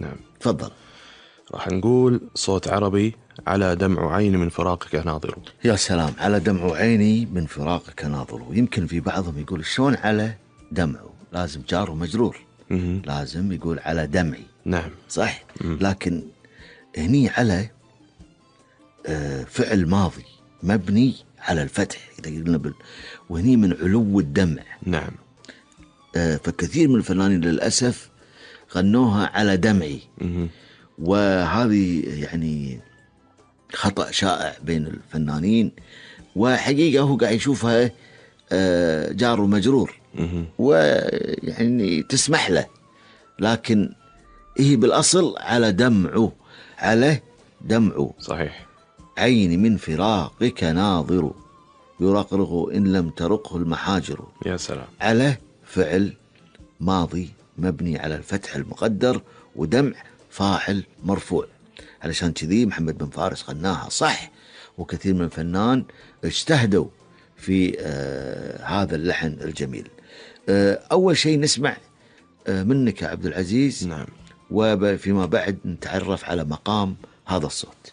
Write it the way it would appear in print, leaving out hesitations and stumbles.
نعم. تفضل. راح نقول صوت عربي: على دمع عيني من فراقك ناظر. يا سلام، على دمع عيني من فراقك ناظر. يمكن في بعضهم يقول شلون على دمعه، لازم جار ومجرور، لازم يقول على دمعي. نعم صح. لكن هني على فعل ماضي مبني على الفتح إذا قلنا وهني من علو الدمع. نعم. فكثير من الفنانين للأسف غنوها على دمعي. وهذه يعني خطأ شائع بين الفنانين، وحقيقة هو قاعد يشوفها جار ومجرور ويعني تسمح له، لكن هي بالأصل على دمعه، على دمعه. صحيح. عيني من فراقك ناظر، يرقرق إن لم ترقه المحاجر. يا سلام. على فعل ماضي مبني على الفتح المقدر، ودمع فاعل مرفوع. علشان كذي محمد بن فارس غناها صح، وكثير من الفنان اجتهدوا في هذا اللحن الجميل. أول شيء نسمع منك يا عبد العزيز. نعم. وفيما بعد نتعرف على مقام هذا الصوت.